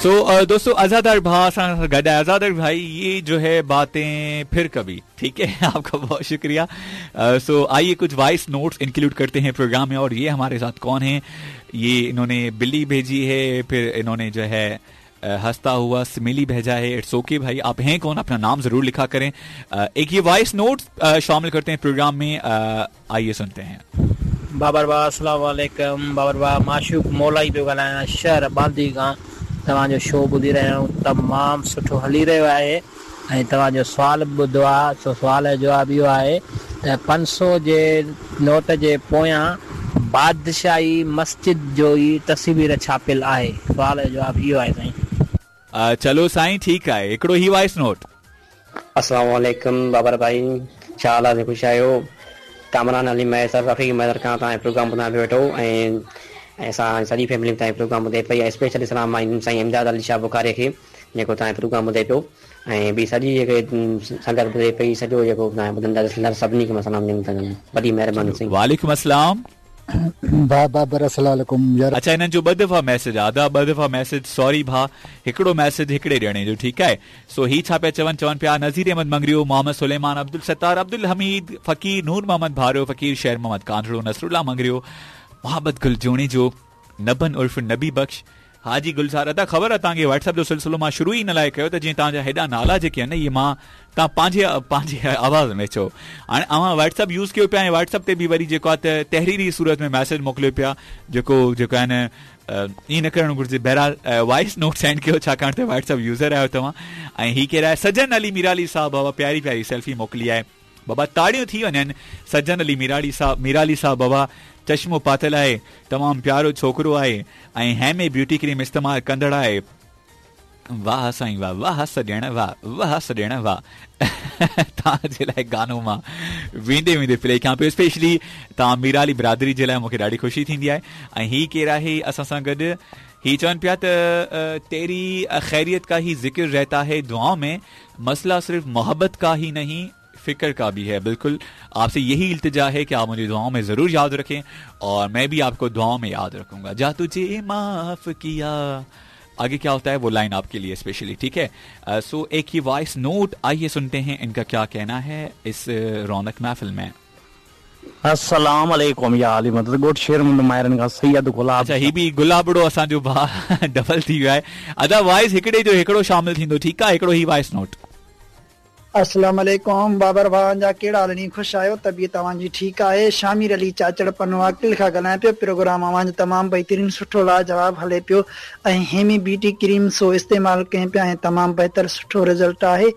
سو دوستو आज़ादार भाउ असां सां गॾु आहे। आज़ादार भाई, ये जो है बातें फिर कभी, ठीक है। आपका बहुत शुक्रिया। सो आइए कुछ वॉइस नोट्स इंक्लूड करते हैं प्रोग्राम में। और ये हमारे साथ कौन है? ये इन्होंने बिल्ली भेजी है, फिर इन्होंने जो है हंसता हुआ स्मिली भेजा है। It's okay भाई, आप हैं कौन, अपना नाम जरूर लिखा करें। एक ये वॉइस नोट्स शामिल करते हैं प्रोग्राम में, आइए सुनते हैं। बाबर भाउ अस्सलाम वालेकुम। बाबर भाउ माशूक मौलाई पियो ॻाल्हायां, शहर बांदी खां तव्हांजो शो ॿुधी रहिया आहियूं, तमामु सुठो हली रहियो आहे। ऐं तव्हांजो सुवाल ॿुधो आहे, सो सुवाल जो जवाबु इहो आहे त 500 जे नोट जे पोयां बादशाही मस्जिद जो ई तस्वीर छापियल आहे। सुवाल जो जवाबु इहो आहे साईं। चलो साईं ठीक आहे, हिकिड़ो ही वॉइस नोट। अस्सलाम वालेकुम बाबर भाई, छा हाल आहे? ख़ुशि आहियो? कामरान अली महेसर रफ़ीक महेसर खां तव्हां प्रोग्राम ॿुधायां पियो वेठो ऐं असां सॼी फैमिली तव्हां प्रोग्राम ॿुधे पई। ऐं स्पेशली सलाम साईं इमदाद अली शाह बुखारी खे जेको तव्हां प्रोग्राम ॿुधे पियो ऐं ॿी सॼी जेके संगत ॿुधे पई, सॼो जेको तव्हां ॿुधंदा सभिनी खे मां सलाम ॾींदुमि। वॾी महिरबानी साईं। वालेकुम अस्सलाम बाबर अस्सलाम वालेकुम यार। अच्छा, हिननि जो ॿ दफ़ा मैसेज आहे अदा, ॿ दफ़ा मैसेज, सॉरी भाउ, हिकिड़ो मैसेज हिकिड़े ॼणे जो, ठीकु आहे। सो ही छा पिया चवनि? चवनि पिया नज़ीर अहमद मंगरियो, मोहम्मद सुलेमान, अब्दुल सत्तार, अब्दुल हमीद फ़कीर, नूर मोहम्मद भारो फ़कीर, शेर मोहम्मद कांधड़ो, नसरुल्ला मंगरियो, मोहम्मद गुल जोणेजो, नबन उर्फ़ नबी बख्श, हाजी गुलज़ार। अदा ख़बर आहे तव्हांखे व्हाट्सएप जो सिलसिलो मां शुरू ई इन लाइ कयो त जीअं तव्हांजा हेॾा नाला जेके आहिनि न, इहे मां तव्हां पंहिंजे पंहिंजे आवाज़ में चओ। हाणे अव्हां व्हाट्सएप यूज़ कयो पिया ऐं व्हाट्सएप ते बि वरी जेको आहे त तहरीरी सूरत में मैसेज मोकिलियो पिया, जेको जेको आहे न ईअं न करणु घुरिजे। बहरहाल वॉइस नोट सेंड कयो, छाकाणि त व्हाट्सएप यूज़र आहियो तव्हां। ऐं हीउ केरु आहे? सजन अली मीराली साहिबु बाबा प्यारी प्यारी सेल्फी मोकिली आहे। बाबा ताड़ियूं थी वञनि। सजन अली मीराली साहिबु, मीराली साहिबु बाबा चश्मो पातल आहे, तमामु प्यारो छोकिरो आहे ऐं हेमे ब्यूटी क्रीम इस्तेमालु कंदड़ आहे। वाह साईं वाह, वाह सॼण वाह, वाह सॼण वाह। तव्हांजे लाइ गानो मां वेंदे वेंदे प्ले कयां पियो। स्पेशली तव्हां मीराली बिरादरी जे लाइ मूंखे ॾाढी ख़ुशी थींदी आहे। ऐं हीउ केरु आहे असां सां गॾु? ही चवनि पिया त तेरी ख़ैरियत का ही ज़िक्र रहता है दुआओं में, मसला सिर्फ़ मोहब्बत का ही नहीं फिक्र का भी है। बिल्कुल आपसे यही इल्तिजा है कि आप मुझे दुआओं में ज़रूर याद रखें और मैं भी आपको दुआओं में याद रखूंगा। जा तुझे माफ़ किया, आगे क्या होता है वो लाइन आपके लिए स्पेशली, ठीक है। सो एक ही वॉइस नोट, आइए सुनते हैं इनका क्या कहना है इस रौनक महफिल में। अस्सलाम वालेकुम या अली मदद गोठ शेर मुंद मायरन का सैयद गुलाब। अच्छा, ही बि गुलाबड़ो असांजो भाउ डबल थी वियो आहे। अदा वॉइस हिकिड़े जो हिकिड़ो शामिल थींदो, ठीकु आहे, हिकिड़ो ही वॉइस नोट। अस्सलाम वालेकुम बाबर भाउ जा कहिड़ा हाल नी? ख़ुशि आहियो? तबीयत तव्हांजी ठीकु आहे? शामिर अली चाचड़ पन्नो अकिल खां ॻाल्हायां पियो। प्रोग्राम अव्हांजो तमामु बहितरीन सुठो लाजवाब हले पियो ऐं हेमी ब्यूटी क्रीम सो इस्तेमालु कयूं पिया ऐं तमामु बहितर सुठो रिज़ल्ट आहे।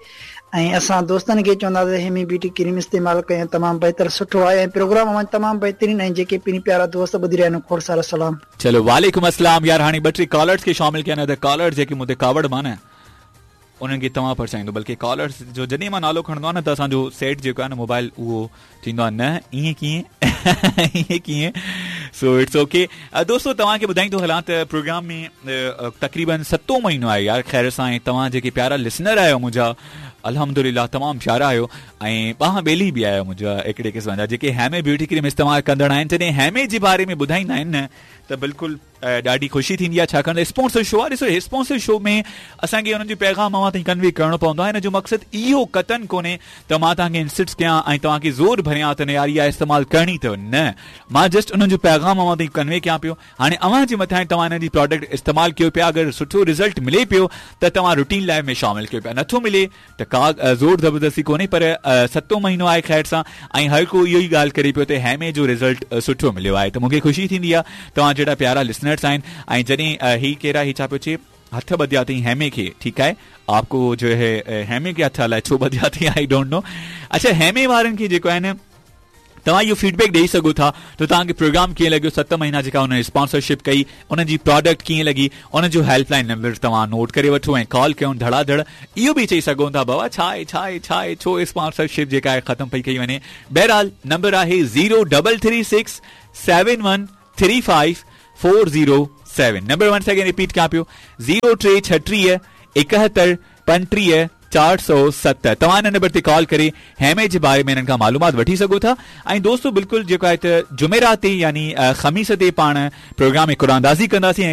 ऐं असां दोस्तनि खे चवंदासीं हेमी ब्यूटी क्रीम इस्तेमालु कयूं, तमामु बहितर सुठो आहे ऐं प्रोग्राम अव्हांजो तमामु बहितरीन। ऐं जेके पिणी प्यारा दोस्त ॿुधी रहिया आहिनि, खोड़ सारा सलाम। चलो वालेकुम अस्सलाम। यार हाणे ॿ टे कॉलर्स खे शामिल कयां, न त कॉलर्स जेके मूं ते कावड़ माना उन्हनि खे तव्हां परचाईंदो, बल्कि कॉलर्स जो जॾहिं मां नालो खणंदो आहियां न त असांजो सेट जेको आहे न मोबाइल उहो थींदो आहे न ईअं कीअं ईअं कीअं। सो it's okay दोस्तो, तव्हांखे ॿुधाईंदो हलां त प्रोग्राम में तक़रीबन सतों महीनो आहे यार ख़ैर सां। ऐं तव्हां जेके प्यारा लिसनर आहियो मुंहिंजा, अल्हम्दुलिल्लाह तमामु प्यारा आहियो ऐं ॿाह ॿेली बि आहियो मुंहिंजा हिकिड़े क़िस्म जा जेके हेमे ब्यूटी क्रीम इस्तेमालु कंदड़ आहिनि। जॾहिं हेमे जे बारे में ॿुधाईंदा आहिनि न त बिल्कुलु ॾाढी ख़ुशी थींदी आहे, छाकाणि त स्पॉन्सर शो आहे। ॾिसो स्पॉन्सर शो में असांखे हुननि जो पैगाम अव्हां ताईं कन्वे करिणो पवंदो आहे। हिन जो मक़सदु इहो कतन कोन्हे त मां तव्हांखे इंसिस्ट कयां ऐं तव्हांखे ज़ोर भरियां त न यार इहा इस्तेमालु करणी अथव, न, मां जस्ट उन्हनि जो पैगाम अव्हां ताईं कन्वे कयां पियो। हाणे अव्हां जे मथां तव्हां हिन जी प्रोडक्ट इस्तेमालु कयो पिया, अगरि सुठो रिज़ल्ट मिले पियो त तव्हां रूटीन लाइफ में शामिल कयो पिया, नथो मिले त का ज़ोर ज़बरदस्ती कोन्हे। पर सतों महीनो आहे ख़ैर सां ऐं हर को इहो ई ॻाल्हि करे पियो त हेमे जो रिज़ल्ट सुठो मिलियो आहे, त मूंखे ख़ुशी थींदी आहे तव्हां जहिड़ा प्यारा लिसनर्स आहिनि। ऐं जॾहिं ही केरु आहे, ही छा पियो चए, हथ ॿधिया अथई हेमे खे, ठीकु आहे, आपको जो है हेमे खे हथ अलाए छो ॿधिया अथई, I don't know. अच्छा, हेमे वारनि खे जेको आहे न तव्हां इहो फीडबैक ॾेई सघो था त तव्हांखे प्रोग्राम कीअं लॻियो, 7 महीना जेका हुन स्पॉन्सरशिप कई, उन्हनि जी प्रोडक्ट कीअं लॻी, उन जो हेल्पलाइन नंबर तव्हां नोट करे वठो ऐं कॉल कयूं धड़ाधड़। इहो बि चई सघो था बाबा छा आहे छा आहे छा आहे, छो स्पॉन्सरशिप जेका आहे ख़तमु पई कई वञे। बहरहाल नंबर आहे 0336 7135 407। नंबर 1 सेकेंड रिपीट कयां पियो, 0336 71 35 470। तव्हां हिन नंबर ते कॉल करे हेमे जे बारे में हिननि खां मालूमात वठी सघो था। ऐं दोस्तो बिल्कुलु जेको आहे त जुमेरात ते यानी ख़मीस ते पाण प्रोग्राम में कुरानदाज़ी कंदासीं।